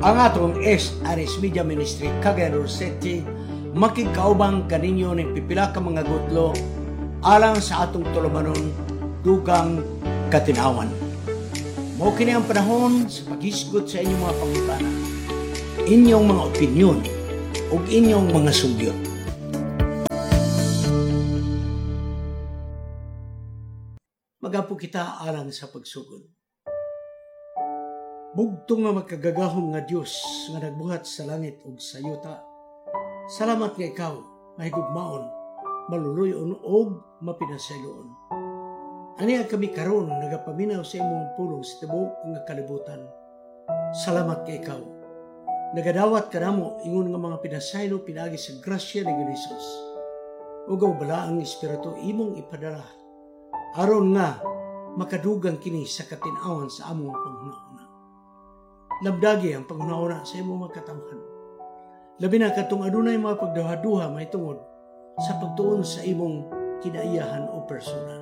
Ang atong SRS Media Ministry Cagayan City makigkaubang kaninyo ning pipila ka mga gutlo alang sa atong tulumanon dugang katinawan. Mao kini ang panahon sa paghisgot sa inyong mga pangutana, inyong mga opinyon ug inyong mga sugyot. Magapo kita alang sa pagsugod. Bugtong nga makagagahom nga Dios nga nagbuhat sa langit ug sa yuta. Salamat nga ikaw mahigugmaon, maluluyon ug mapinasayloon. Aniya kami karon nagapaminaw sa imong pulong sa tibuok nga kalibutan. Salamat kay ikaw. Nagadawat kanamo ingon nga mga pinasaylo pinaagi sa grasya ni Hesus. Ug ang balaang espiritu imong ipadala aron nga makadugang kini sa katin-awan sa among panghuna-una. Labdagi ang panghuna-una sa imong mga katawhan. Labi na katong adunay mga pagduha-duha mahitungod sa pagtuon sa imong kinaiyahan o persona.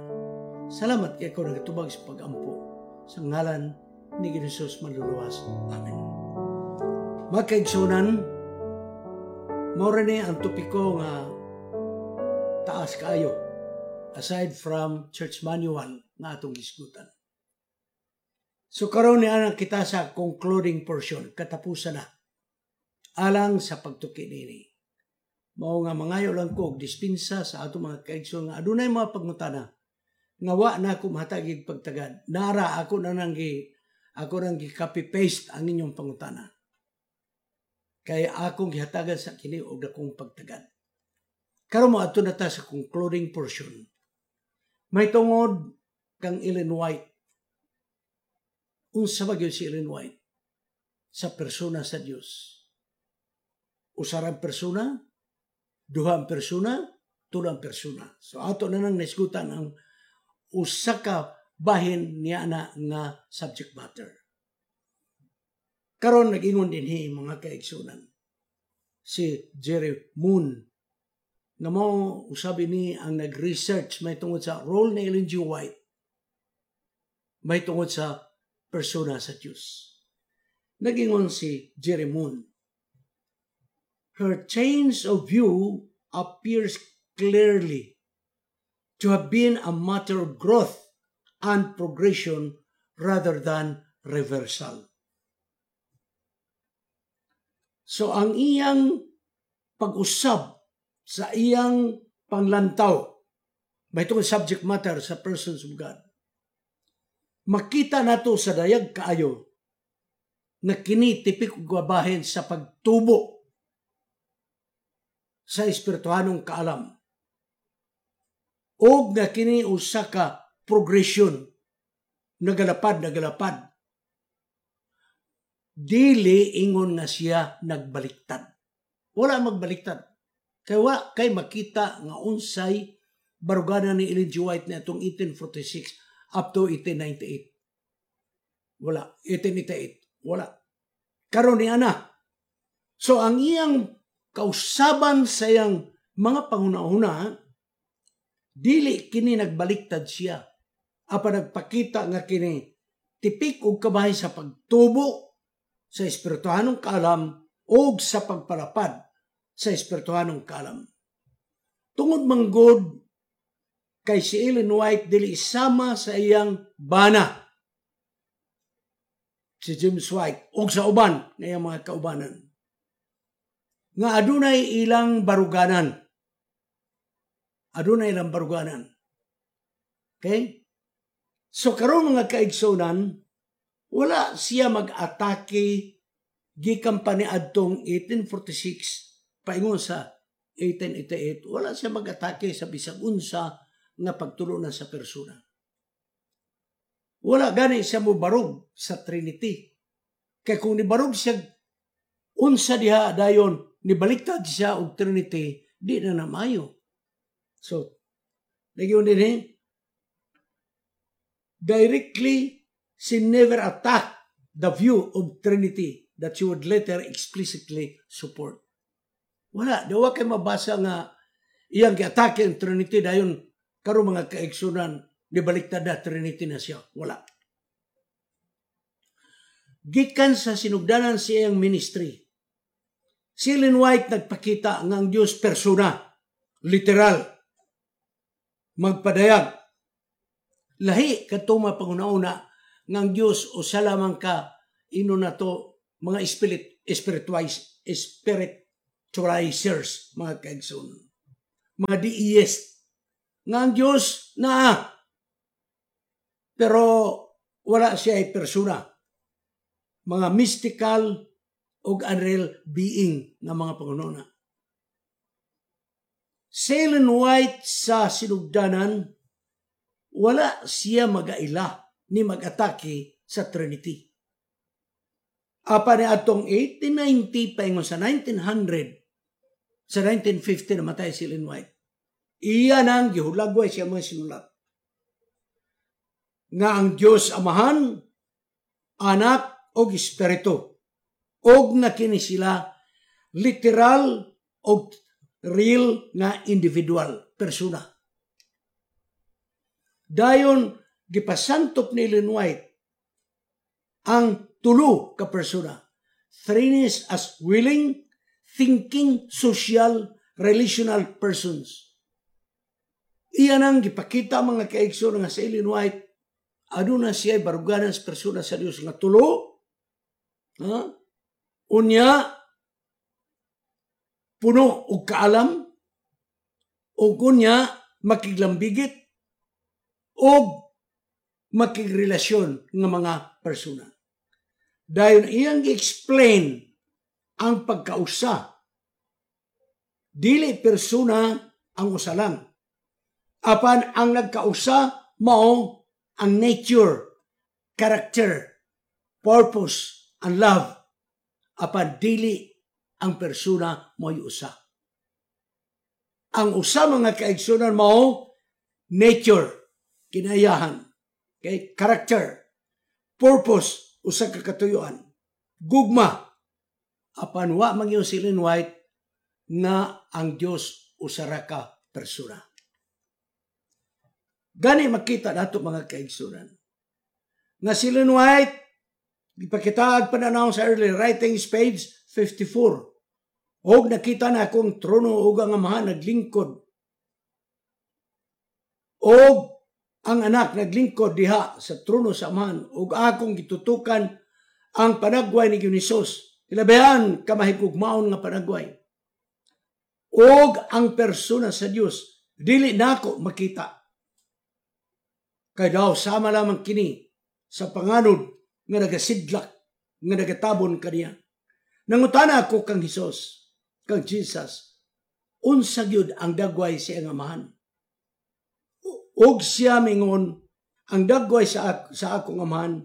Salamat kay ikaw nagatubag sa pag-ampo. Sa ngalan ni Jesus manluluwas. Amen. Mga kaigsunan, mao ni ang topiko nga taas kaayo aside from church manual nga atong gisgutan. So karon ni ana kita sa concluding portion, katapusan na. Alang sa pagtuki nini. Mao nga mangayo lang ko og dispensa sa atong mga kaigsoon nga adunay mga pangutana nga wa na ako mahatagig pagtagad. Nara ako na nang gi ako nang gi copy paste ang inyong pangutana. Kay akong gihatagan sa kini og dakong pagtagad. Karon mo adto na ta sa concluding portion. May tungod kang Ellen White. Unsa ba gyud si Ellen White sa persona sa Dios? Usa ra persona, duha ang persona, tulo ang persona. So ato na nang naisgutan ang usa ka bahin niya na nga subject matter. Karon nag-ingon dinhi mga kaigsunan si Jerry Moon nga mao usabi ni ang nag-research may tungod sa role ni Ellen G. White may tungod sa persona sa Dios. Nag-ingon si Jerry Moon, her change of view appears clearly to have been a matter of growth and progression rather than reversal. So ang iyang pag-usab sa iyang panglantaw, may itong subject matter sa persons of God, makita nato sa dayag kaayo na kini tipik og bahin sa pagtubo sa espirituhanong kaalam. Og nga kini usa ka progression, nagalapad, nagalapad. Dili ingon nga siya nagbaliktad. Wala magbaliktad. Kay wa kay makita nga unsay barugana ni Ellen G. White na itong 1846 up to 1898. Wala. 1888. Wala. Karon ni ana. So ang iyang kausaban sa iyang mga panghuna-huna, dili kini nagbaliktad siya. Apan nagpakita nga kini tipik og kabahin sa pagtubo sa espirituhanong kaalam og sa pagpalapad sa espirituhanong kaalam. Tungod manggod kay si Ellen White dili sama sa iyang bana si James White og sa uban nga iyang mga kaubanan nga adunay ilang baruganan. Adunay ilang baruganan. Okay? So karon mga kaigsunan, wala siya mag-atake gikan pa ni adtong 1846 paingon sa 1888, wala siya mag-atake sa bisag unsa nga pagtulunan sa persona. Wala gani siya mobarog sa Trinity. Kay kung nibarog siya unsa diha dayon nibaliktad siya og Trinity, di na namayo. So, nagyun din eh, directly, she never attacked the view of Trinity that she would later explicitly support. Wala, dawa kay mabasa nga iyang giatake ang Trinity dayon karon mga kaigsunan nibaliktad na Trinity na siya. Wala. Gikan sa sinugdanan sa iyang ministry, si Ellen White nagpakita nga ang Dios persona, literal, magpadayag. Lahi kadto mga panguna-una nga ang Dios usa lamang ka ino na to mga spiritualizers, mga kaigsoon. Mga deist nga ang Dios naa pero wala siya ay persona. Mga mystical og unreal being nga mga panguna. Si Ellen White sa sinugdanan, wala siya magaila ni mag-atake sa Trinity. Apan ni atong 1890 paingon sa 1900, sa 1950 namatay si Ellen White. Iya nang gihulagway siya mga sinulat nga ang Dios Amahan, Anak og Espiritu, og na kini sila literal og real nga individual persona. Dayon gipasantop ni Ellen White ang tulo ka persona. Threeness as willing, thinking, social, relational persons. Iyan ang gipakita, mga kaigsoon, nga sa Ellen White, aduna siya baruganan sa persona sa Dios nga tulo. Ha? Unya, puno og kaalam, ug unya makiglambigit og makigrelasyon nga mga persona. Dayon iyang gi-explain ang pagkausa. Dili persona ang usa lang. Apan ang nagkausa mao ang nature, character, purpose, and love. Apan dili ang persona mo'y usa. Ang usa, mga kaigsunan, mao nature, kinayahan, okay? Character, purpose, usa ka katuyuan, gugma. Apan wa man si Ellen White nga ang Dios usa ra ka persona. Gani makita nato, mga kaigsunan, nga si Ellen White gipakitaag pananaw sa Early Writings, page 54. Og nakita na akong trono ug ang Amahan naglingkod. Og ang Anak naglingkod diha sa trono sa Amahan ug akong gitutukan ang panagway ni Hesus. Ilabihan ka mahigugmaon nga panagway. Og ang persona sa Dios dili nako makita. Kay daw sama lamang kini sa panganod nga nagasidlak nga nagatabon kaniya. Nangutana ako kang Hesus, kang Jesus, unsa gyud ang dagway sa iyang Amahan? Og siya mingon, ang dagway sa akong Amahan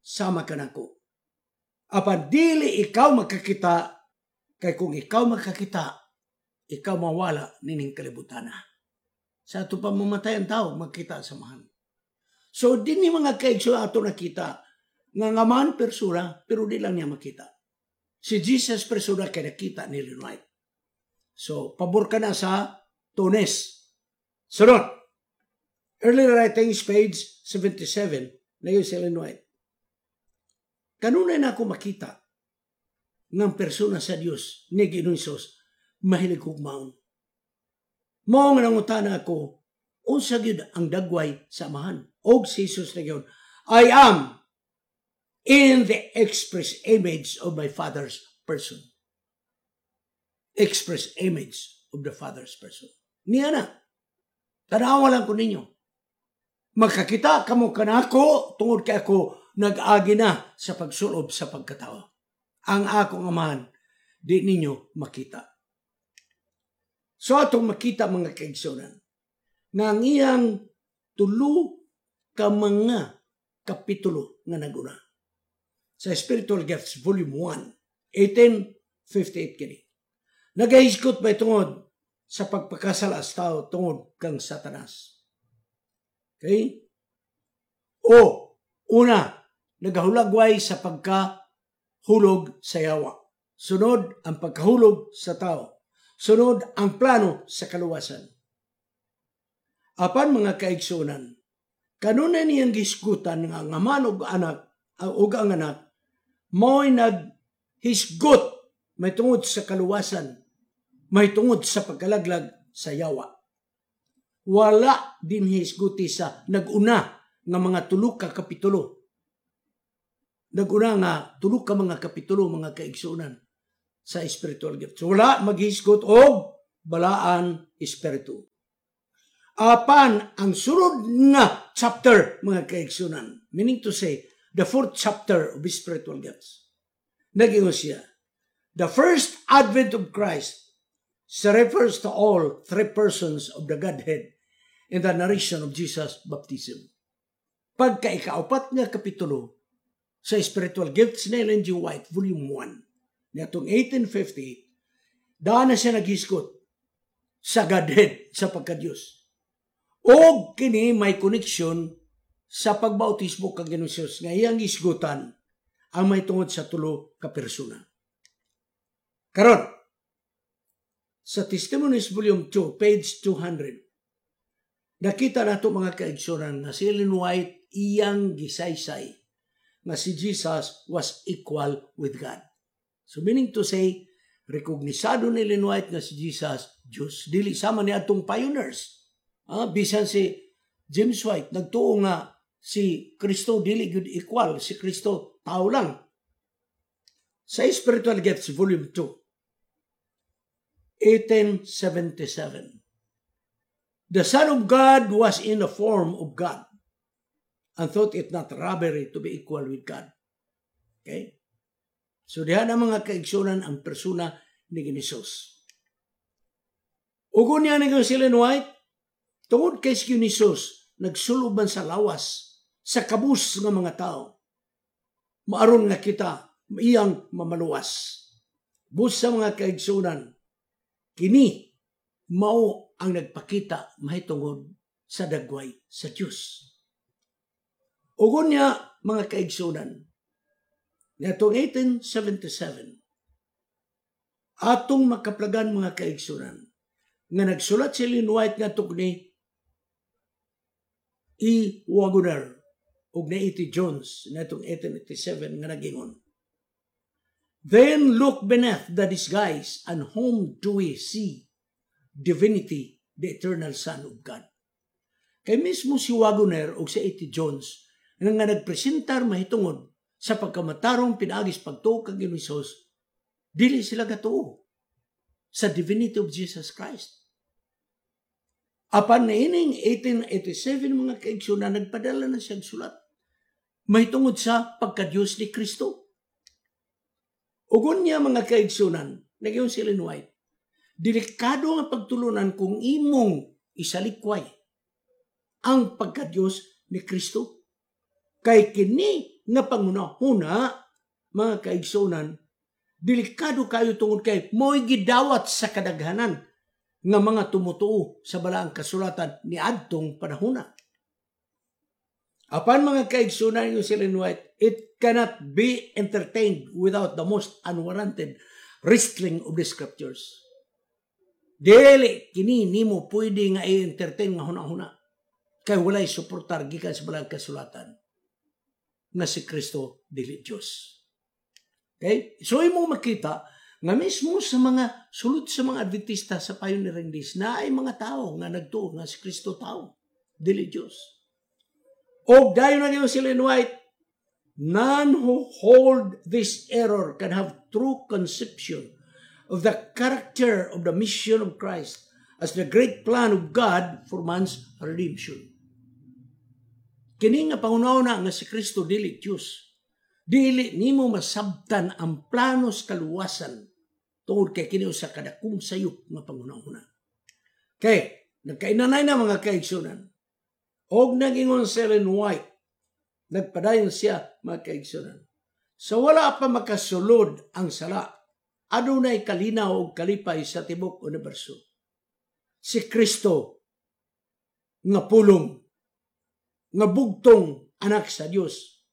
sama kanako. Apan dili ikaw makakita, kay kung ikaw makakita, ikaw mawala nining kalibutan. Sa ato pa mamatay ang tao, magkita sa Amahan. So, dinhi, mga kaigso, ato nakita nga ang Amahan persona, pero di lang niya makita. Si Jesus persona kay nakita ni Ellen White. So, pabor ka na sa twoness. Sunod. Early Writings, page 77, na yun si Ellen White. Kanunay na ako makita ng persona sa Dios ni Ginoong Hesus mahilig hugmaon. Mao nga nangutana ako, unsa gyud ang dagway sa Amahan? Og si Jesus na gyud, "I am in the express image of my Father's person." Express image of the Father's person. Niya na. Tanawa lang ko ninyo. Magkakita kamo kanako tungod kay ako nag-agi na sa pagsulob sa pagkatao. Ang akong Amahan di ninyo makita. So atong makita, mga kaigsunan, nga ang iyang tulo ka mga kapitulo nga naguna. Sa Spiritual Gifts, Volume 1, 1858 kini. Nagahisgot ba tungod sa pagpakasala sa tao tungod kang Satanas? Okay? O, una, nagahulagway sa pagkahulog sa yawa. Sunod, ang pagkahulog sa tao. Sunod, ang plano sa kaluwasan. Apan, mga kaigsunan, kanunay niyang gisgutan nga ang Amahan ug Anak ug ang Anak Mo'y naghisgot may tungod sa kaluwasan, may tungod sa pagkalaglag sa yawa. Wala din hisguti sa naguna nga mga tulo ka kapitulo. Naguna nga tulo ka mga kapitulo, mga kaigsunan, sa spiritual gifts. Wala maghisgot og balaan espiritu. Apan ang sunod nga chapter, mga kaigsunan, meaning to say, the fourth chapter of spiritual gifts, nag-ingon siya, the first advent of Christ refers to all three persons of the Godhead in the narration of Jesus' baptism. Pagka ikaapat nga kapitulo sa Spiritual Gifts ni Ellen G. White, Volume 1, niadtong 1850, daan na siya naghisgot sa Godhead, sa pagka-Diyos. O kini may connection sa pagbautismo kang Ginoong Hesus nga iyang hisgutan ang may tungod sa tulo ka persona. Karon, sa Testimonies Volume 2, page 200, nakita nato, mga kaigsunan, nga si Ellen White iyang gisaysay nga si Jesus was equal with God. So meaning to say, rekognisado ni Ellen White nga si Jesus, Diyos. Dili sama ni atong pioneers. Bisan si James White, nagtuo nga si Kristo dili gyud equal, si Kristo tao lang. Sa Spiritual Gifts Volume 2, 1877. The Son of God was in the form of God and thought it not robbery to be equal with God. Okay? So diha na, mga kaigsunan, ang persona ni Jesus. Ugon niya ni si Ellen White, tungod kay si Jesus, nagsuloban sa lawas, sa kabus nga mga tao. Maaron nga kita, iyang mamaluwas. Busa, mga kaigsunan, kini mao ang nagpakita mahitungod sa dagway sa Dios. Ugon niya, mga kaigsunan, niadtong 1877, atong makaplagan, mga kaigsunan, nga nagsulat si Ellen White nga ni E. Waggoner ug ni A.T. Jones niadtong 1887 nga nagingon, "Then look beneath the disguise, and whom do we see? Divinity, the eternal Son of God." Kay mismo si Waggoner o si A.T. Jones nga nagpresentar mahitungod sa pagkamatarong pinaagis pagtuo kang Ginoong Hesus, dili sila gatuo sa divinity of Jesus Christ. Apan na ining 1887, mga kaigsunan, nagpadala na siyang sulat mahitungod sa pagka-Diyos ni Kristo. Ugon niya, mga kaigsunan, nagyong si Ellen White, delikado nga pagtulunan kung imong isalikway ang pagka-Diyos ni Kristo. Kay kini nga pangunahuna, mga kaigsunan, delikado kayo tungod kay mo'y gidawat sa kadaghanan nga mga tumutuo sa balaang kasulatan ni adtong panahona. Apan, mga kaigsunan, yung si Ellen White, it cannot be entertained without the most unwarranted wrestling of the scriptures. Dili kini nimo pwede nga i-entertain nga huna-huna. Kay walay suportar gikan sa balaang kasulatan nga si Kristo dili Dios. Okay? So imo makita nga mismo sa mga sulod sa mga Adventista sa pioneering days na ay mga tao nga nagtuo nga si Kristo tao, dili Dios. Og dayon na si Ellen White, none who hold this error can have true conception of the character of the mission of Christ as the great plan of God for man's redemption. Kini nga panghunahuna nga si Kristo dili Dios, dili nimo masabtan ang planos kaluwasan tungod kay kini usa ka dakong sayop nga panghunahuna. Kay nagkainanay na, mga kaigsunan. Og nagingon si Ellen White, nagpadayon siya, mga kaigsunan. Sa wala pa makasulod ang sala, adunay kalinaw ug kalipay sa tibok universo. Si Kristo nga pulong, nga bugtong anak sa Dios,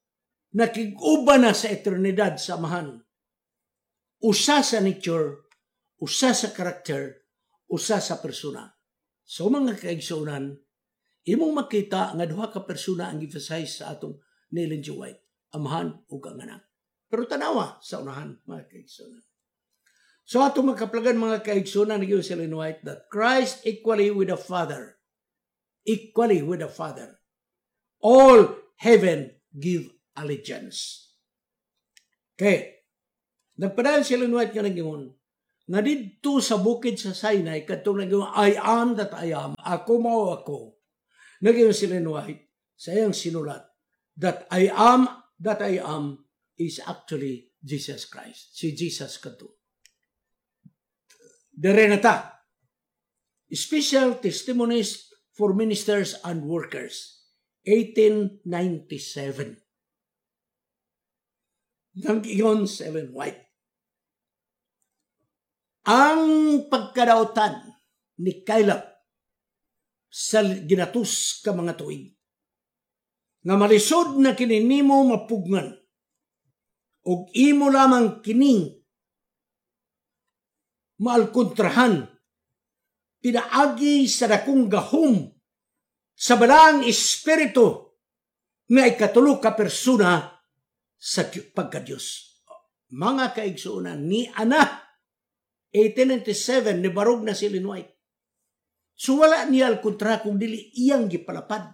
nakig-uban na sa eternidad sa Amahan. Usa sa nature, usa sa karakter, usa sa persona. So mga kaigsunan, imong makita nga duha ka persona ang emphasize sa atong ni Ellen G. White, Amahan ug ang Anak. Pero tanawa sa unahan, mga kaigsunan. So ato makaplagan, mga kaigsunan, nagyo si Ellen White that Christ equally with the Father, equally with the Father, all heaven give allegiance. Okay. Nagpadayon si Ellen White nga nag-ingon, nga didto sa bukid sa Sinai, kadtong nag "I am that I am, ako mao ako." Nag-ingon si Ellen White sa iyang sinulat that "I am that I am" is actually Jesus Christ. Si Jesus kadto. Dere na ta. Special Testimonies for Ministers and Workers, 1897. Nag-ingon si Ellen White: Ang pagkadautan ni Caleb sa ginatus ka mga tuig nga malisod na kini nimo mapugngan ug imo lamang kining maalkontrahan pinaagi sa dakong gahom sa Balaang Espiritu nga ikatulo ka persona sa pagka-Diyos. Mga kaigsuonan, ni ana 1897 ni barog na si Ellen White. So wala niya alkontra kung dili iyang gipalapad.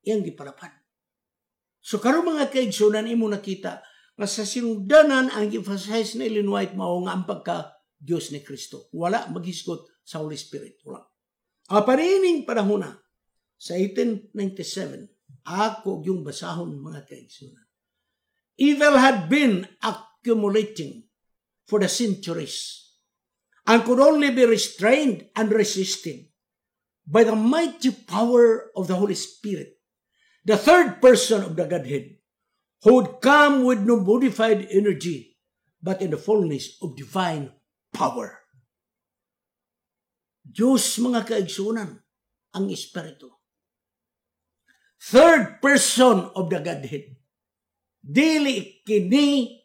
Iyang gipalapad. So karon, mga kaigsuonan, imo nakita nga sa sinugdanan ang emphasize ni Ellen White mao nga ang pagka Diyos ni Kristo. Wala maghisgot sa Holy Spirit. Wala. Apan ining panahon na, sa 1897, ako yung basahon, mga kaigsunan. Evil had been accumulating for the centuries and could only be restrained and resisted by the mighty power of the Holy Spirit, the third person of the Godhead, who would come with no modified energy, but in the fullness of divine power. Diyos, mga kaigsunan, ang Espiritu. Third person of the Godhead. Dili kini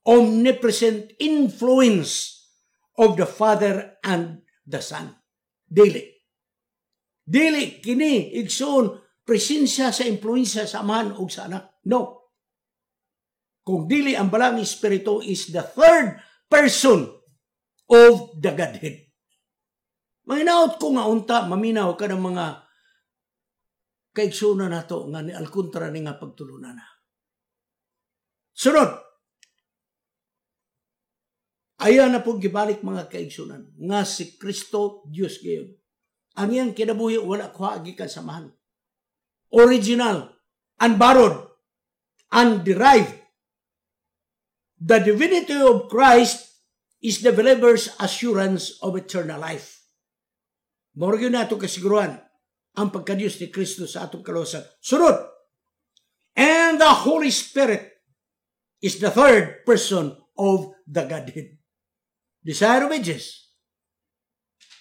omnipresent influence of the Father and the Son. Dili. Dili kini, igsoon, presensya sa impluensya sa Amahan ug sa Anak. No. Kung dili ang Balaang Espiritu is the third person of the Godhead. Mahinaot ko nga unta maminaw ka ng mga kaigsunan nato nga ni alkontra ni nga pagtulunan na. Sunod, ayan na po gibalik, mga kaigsunan, nga si Kristo Diyos gayon. Ang iyang kinabuhi wala kuha gikan sa Amahan. Original, unborrowed, underived. The divinity of Christ is the believer's assurance of eternal life. Mao gyud nato kasiguruhan ang pagkadiyos ni Kristo sa atong kaluwasan. Sunod, and the Holy Spirit is the third person of the Godhead. Desire of Ages,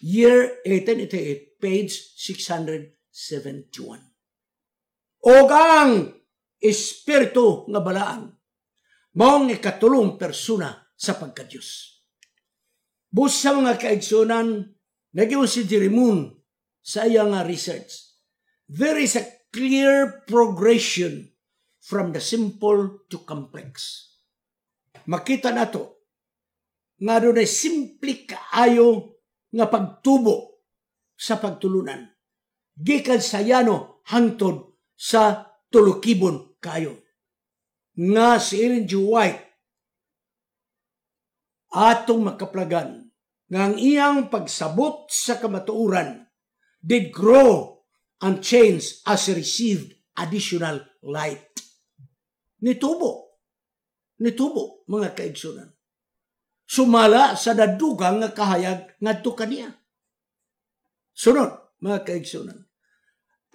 year 1888, page 671. Og ang Espiritu nga Balaan, maong ikatulong persona sa pagkadiyos. Busa, mga kaigsunan, nag si Jerry Moon sa iyang nga research. There is a clear progression from the simple to complex. Makita nato nga dunay simple kaayo nga pagtubo sa pagtulunan. Gikan sa yano hangtod sa tulukibon kayo. Nga si Ellen G. White, atong makaplagan nga ang iyang pagsabot sa kamatuoran did grow and change as he received additional light. Nitubo. Nitubo, mga kaigsunan. Sumala sa nadugang nga kahayag ngadto kaniya. Sunod, mga kaigsunan.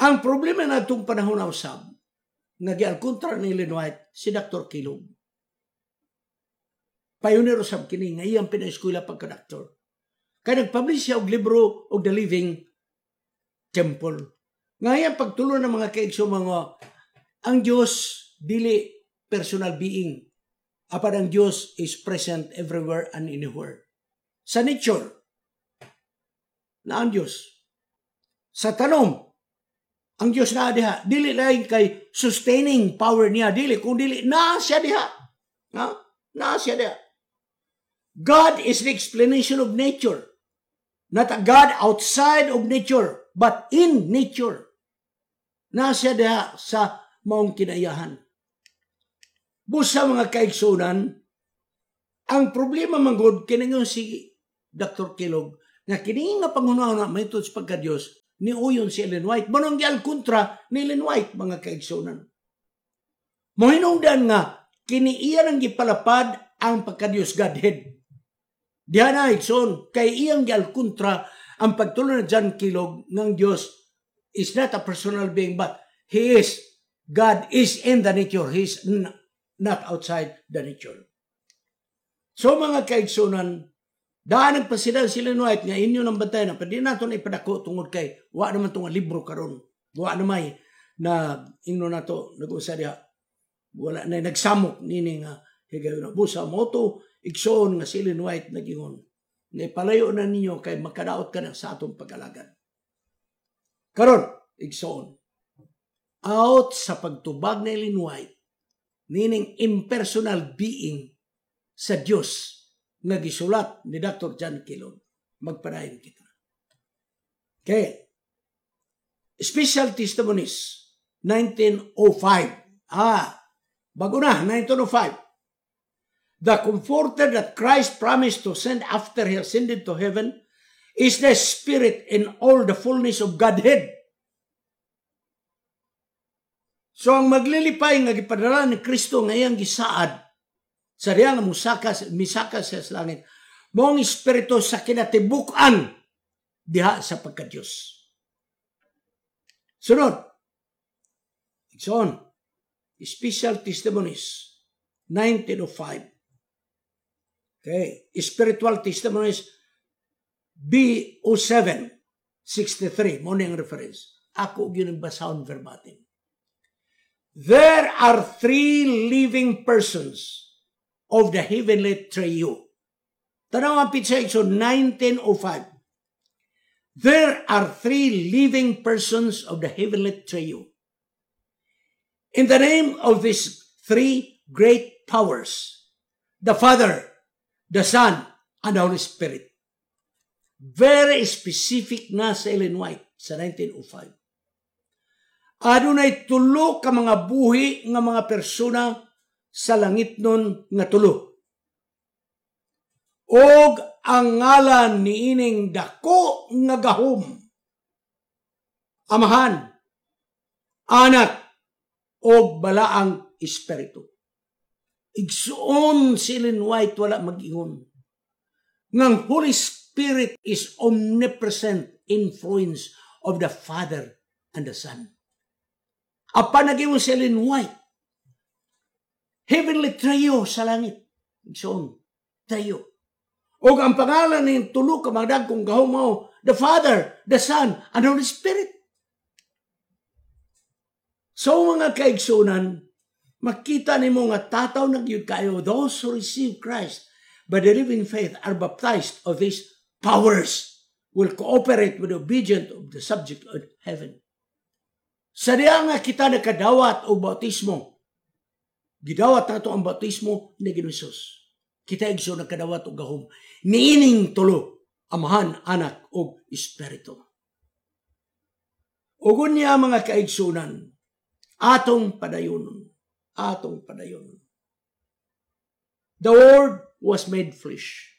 Ang problema na itong panahon na usab, nga gialkontra ni Ellen White, si Dr. Kellogg. Pioneer usab kini nga iyang pinaeskwela pagka-doktor. Kay nag-publish siya og libro og The Living Temple. Nga iyang pagtulo ng mga kaigso mga ang Diyos dili personal being. Apan ang Diyos is present everywhere and anywhere. Sa nature, na ang Diyos. Sa tanom, ang Diyos na diha. Dili lain kay sustaining power niya. Dili, kung dili, na siya diha. Ha? Naa siya diha. God is the explanation of nature. Not a God outside of nature, but in nature. Naa siya diha sa maong kinaiyahan. Busa, mga kaigsunan, ang problema manggod kini si Dr. Kellogg nga kini nga panghuna-huna mahitungod sa pagka-Dios ni uyon si Ellen White. Mao nang kontra ni Ellen White, mga kaigsunan. Mohinungdan nga kini iya nang gipalapad ang pagka-Dios, Godhead. Diha na, igsoon, kay iyang gialkontra ang pagtulo ni John Kellogg ng Dios is not a personal being, but He is, God is in the nature. He is not outside the nature. So mga kaigsunan, daan nagpasida si Ellen White nga inyo nang bantayan na pwede nato na ipadako tungod kay wa naman itong libro karon. Wa na may na ingno nato nag-usa diha. Wala na nagsamok nini nga higayon. Busa mao to, igsoon, nga si Ellen White nagingon. Na ipalayo na ninyo kay makadaot ka na sa atong pag-alagad. Karon, igsoon, out sa pagtubag ni Ellen White, nining impersonal being sa Dios nga gisulat ni Dr. John Kellogg, magpadayon kita. Okay. Special Testimonies, 1905. Ah, bago na, 1905. The Comforter that Christ promised to send after He ascended to heaven is the Spirit in all the fullness of Godhead. So ang maglilipay nga gipadala ni Kristo nga iyang gisaad sa diya nga musaka, misaka siya sa langit, mao ang Espiritu sa kinatibuk-an diha sa pagka-Diyos. Sunod, igsoon, Special Testimonies, 1905. Okay, Spiritual Testimonies B07 63, mao ang reference. Ako gyud ang basahon verbatim. There are three living persons of the heavenly trio. Tanaw ang pitsa, so 1905. There are three living persons of the heavenly trio. In the name of these three great powers, the Father, the Son, and the Holy Spirit. Very specific na sa Ellen White sa 1905. Adunay tulo ka mga buhi nga mga persona sa langit nun nga tulo. Og ang ngalan niining dako nga gahom, Amahan, Anak, og Balaang Espiritu. Igsuon, si Ellen White wala mag-ingon ngang Holy Spirit is omnipresent influence of the Father and the Son. Apan nag-ingon si Ellen White, heavenly trio sa langit. Igsoon, trio. Og ang pangalan ng tulo ka mga dagkong gahom mao, the Father, the Son, and the Holy Spirit. So mga kaigsunan, makita nimo nga tataw na gyud kayo, those who receive Christ by the living faith are baptized of these powers will cooperate with the obedience of the subject of heaven. Sa diya nga kita nakadawat og bautismo, gidawat nato ang bautismo ni Ginoong Hesus. Kita, igsoon, nakadawat og gahom niining tulo, Amahan, Anak ug Espiritu. Ug unya, mga kaigsunan, atong padayonon, atong padayonon. The Word was made flesh.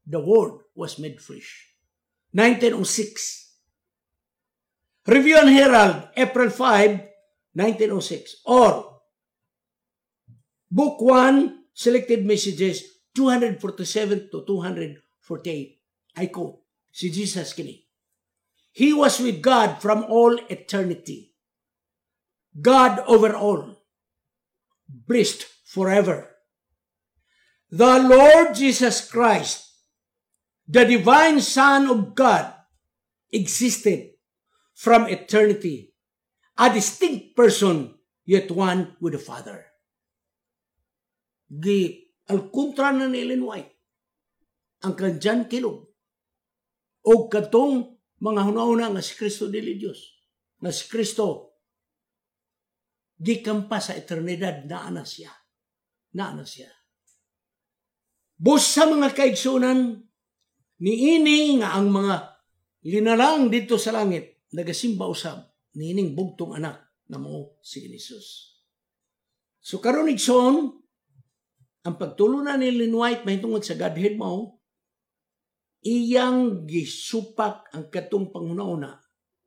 The Word was made flesh. 1906. Review and Herald, April 5, 1906. Or, Book 1, Selected Messages, 247 to 248. I quote, si Jesus kini. "He was with God from all eternity. God over all. Blessed forever. The Lord Jesus Christ, the divine Son of God, existed from eternity, a distinct person, yet one with the Father." Gi al kontra na ni Ellen White ang kan John Kellogg o katong mga hunahuna nga si Kristo dili Dios, nga si Kristo gikan pa sa eternidad naa na siya, naa na siya. Busa, mga kaigsunan, niini nga ang mga linalang didto sa langit nagasimba usab niining bugtong anak nga mao si Jesus. So karon, igsoon, ang pagtulunan ni Ellen White mahitungod sa Godhead mao iyang gisupak ang katong panghuna-huna.